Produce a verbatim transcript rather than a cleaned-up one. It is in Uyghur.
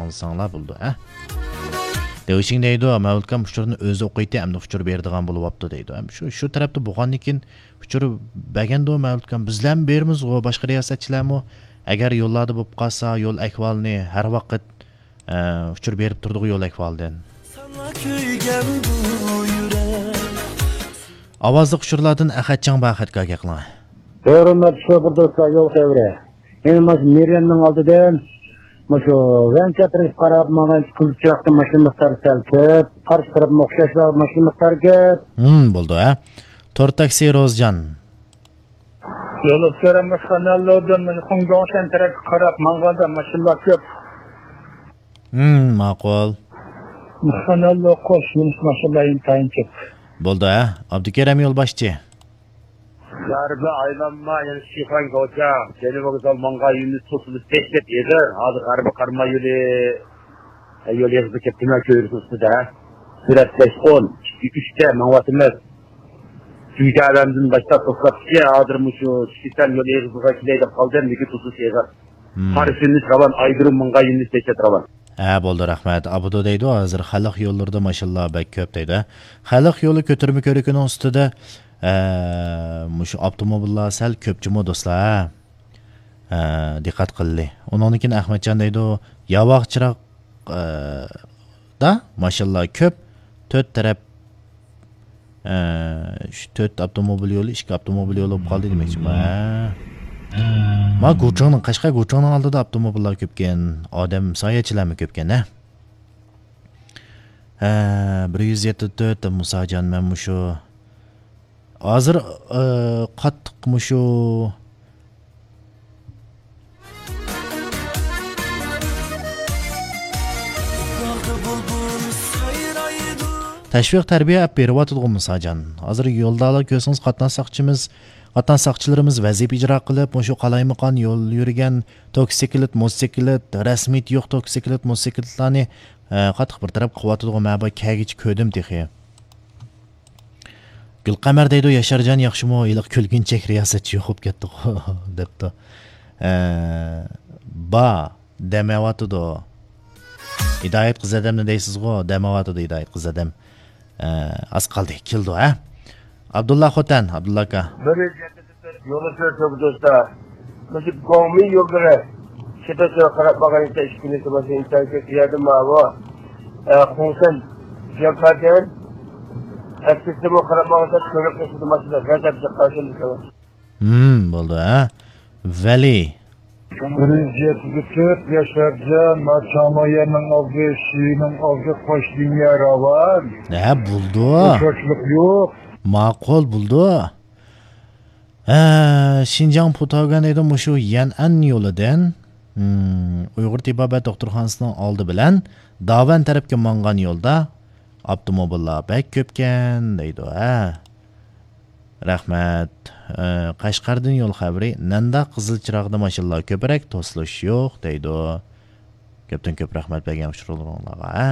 ئاڭلىساڭلار بولىدۇ، ھە؟ دېۋشىڭ دەيدۇ، مەۋلۇتكام ئۇچۇرنى ئۆزى ئوقۇيتتى، ئەمدى ئۇچۇر بېرىدىغان بولۇۋاپتۇ دەيدۇ. ھەم شۇ، شۇ تەرەپتە بولغاندىن كېيىن ئۇچۇر بەرگەندۇ مەۋلۇتكام، بىزلەرمۇ بېرىمىزغۇ، باشقا رىياسەتچىلەرمۇ ئەگەر يوللاردا بولۇپ قالسا، يول ئەھۋالىنى ھەر ۋاقىت، ئە، ئۇچۇر بېرىپ تۇردىغۇ يول ئەھۋالىدىن. ساڭا كۆيگەن بۇ يۈرەك. ئاۋازلىق ئۇچۇرلاردىن ئەخەتجان بار، ئەخەتكە ئاكا قىلىڭ. ھۆرمەتلىك شوپۇر دوستلار، يول خەۋىرى. يەنە مانا شۇ مېرىيەننىڭ ئالدىدىن مۇشۇ ۋەنچە تەرەپكە قاراپ ماڭغان قىزىل چىراغدا ماشىنا مىقدارى سەل كۆپ، قارشى تەرەپمۇ ئوخشاشلا ماشىنا مىقدارى كۆپ. ھىم، بولىدۇ، ھە. تور تاكسى روزجان. يولۇچىلار مۇشۇ خاناللودىن مۇشۇ خۇڭگوڭشەن تەرەپكە قاراپ ماڭغاندا ماشىنىلار كۆپ. ھىم، ماقۇل. مۇشۇ خاناللو قوش يۈنۈس ماشىنىلار ئىنتايىن كۆپ. بولدى، ھە؟ ئابدۇكېرىم يولباشچى. غەربىي ئايلانما، يەنە شىخەن كوچا، جەنۇبىي ۋوگزال ماڭغان يولى توسۇلۇپ دەھشەت ئېغىر. ھازىر غەربىي قاراماي يولى، يول ئېغىزى كەپتىمەن كۆۋرۈكى ئۈستىدە. سۈرئەت بەش ئون، ئىككى ئۈچتە ماڭىۋاتىمىز. تۈگىگە ئادەمدىن باشلاپ توختاپتىكى، ھازىر مۇشۇ چىشىسەن يول ئېغىزىغا كېلەي دەپ قالدىم، لېكىن توسۇلۇش ئېغىر. ھىم. قارشى يۈنۈس راۋان، ئايدۇرۇم ماڭغان يۈنۈس دەھشەت راۋان. ھە، بولدى، رەھمەت. ئابدۇ دەيدۇ، ھازىر خەلق يوللىرىدا ماشىنىلار بەك كۆپ دەيدۇ. خەلق يولى كۆتۈرمە كۆۋرۈكىنىڭ ئۈستىدە، ئە، مۇشۇ ئاپتوموبىللار سەل كۆپ جۇمۇ دوستلار، ھە. ئە، دىققەت قىللى. ئۇنىڭدىن كېيىن ئەخمەتجان دەيدۇ، ياۋاق چىراغ، ئە، دا ماشىنىلار كۆپ، تۆت تەرەپ، ئە، شۇ تۆت ئاپتوموبىل يولى، ئىككى ئاپتوموبىل يولى بولۇپ قالدى دېمەكچىمەن. ھە. ما گۇچىڭنىڭ، قەشقەر گۇچىڭنىڭ ئالدىدا ئاپتوموبىللار كۆپكەن، ئادەم ساياھەتچىلەرمۇ كۆپكەن، ھە؟ ھە، بىر يۈز يەتتە تۆت، مۇساجان، مەن مۇشۇ ھازىر، ئە، قاتتىق مۇشۇ تەشۋىق تەربىيە ئەپ بېرىۋاتىدىغۇ مۇساجان. ھازىر يولدىلا كۆرسىڭىز، قاتناش ساقچىمىز، قاتناش ساقچىلىرىمىز ۋەزىپە ئىجرا قىلىپ، مۇشۇ قالايمىقان يول يۈرگەن توكسىكلىت، موتوسىكلىت، رەسمىيىتى يوق توكسىكلىت، موتوسىكلىتلارنى، ئە، قاتتىق بىر تەرەپ قىلىۋاتىدىغۇ. مەن بار كەگىچە كۆردۈم تېخى. گۈلقەمەر دەيدۇ، ياشارجان ياخشىمۇ؟ ھېلىقى كۈلگۈنچەك رىياسەتچى يوق بولۇپ كەتتىغۇ، دەپتۇ. ئە، با، دەم ئېلىۋاتىدۇ. ھىدايەت قىز ئادەمنى دەيسىزغۇ، دەم ئېلىۋاتىدۇ ھىدايەت قىز ئادەم. ئە، ئاز قالدى، كېلىدۇ، ھە؟ ئابدۇللا خوتەن، ئابدۇللا ئاكا. بىر يۈز يەتتە يول ئۆتۈۋېتىپ دوستلار. مۇشۇ گوڭمىن يوللىرى. شىتەسىگە قاراپ ماڭغان ئىكەن، ئىككى كۈندىن باشلاپ ئىنتايىن كۆپ يەردە ماۋۇ، ئە، خۇڭسەن جاكادىن ئەتكىسىمۇ قاراپ ماڭسا، كۆرۈپ قېلىشىدۇ ماشىنا غەزەپ چىققان شۇنداق. ھىم، بولدى، ھە. ۋەلى. بىر يۈز يەتتە تۆت ياشارجان، ما چاڭمايەننىڭ ئالدى، شىنىڭ ئالدى، قوش لىنىيە راۋان. ھە، بولدى. ئوخشاشلىق يوق. ماقۇل، بولدى. ھە، شىنجاڭ پۇتاۋگەن دەيدۇ، مۇشۇ يەنئەن يولىدىن، ھىم، ئۇيغۇر تېبابەت دوختۇرخانىسىنىڭ ئالدى بىلەن داۋەن تەرەپكە ماڭغان يولدا ئاپتوموبىللار بەك كۆپكەن دەيدۇ، ھە. رەھمەت. ھە، قەشقەردىن يول خەۋىرى، نەندا قىزىل چىراغدا ماشىنىلار كۆپرەك، توسۇلۇش يوق دەيدۇ. كۆپتىن كۆپ رەھمەت بەرگەن ئۇچۇرلىرىڭلارغا، ھە.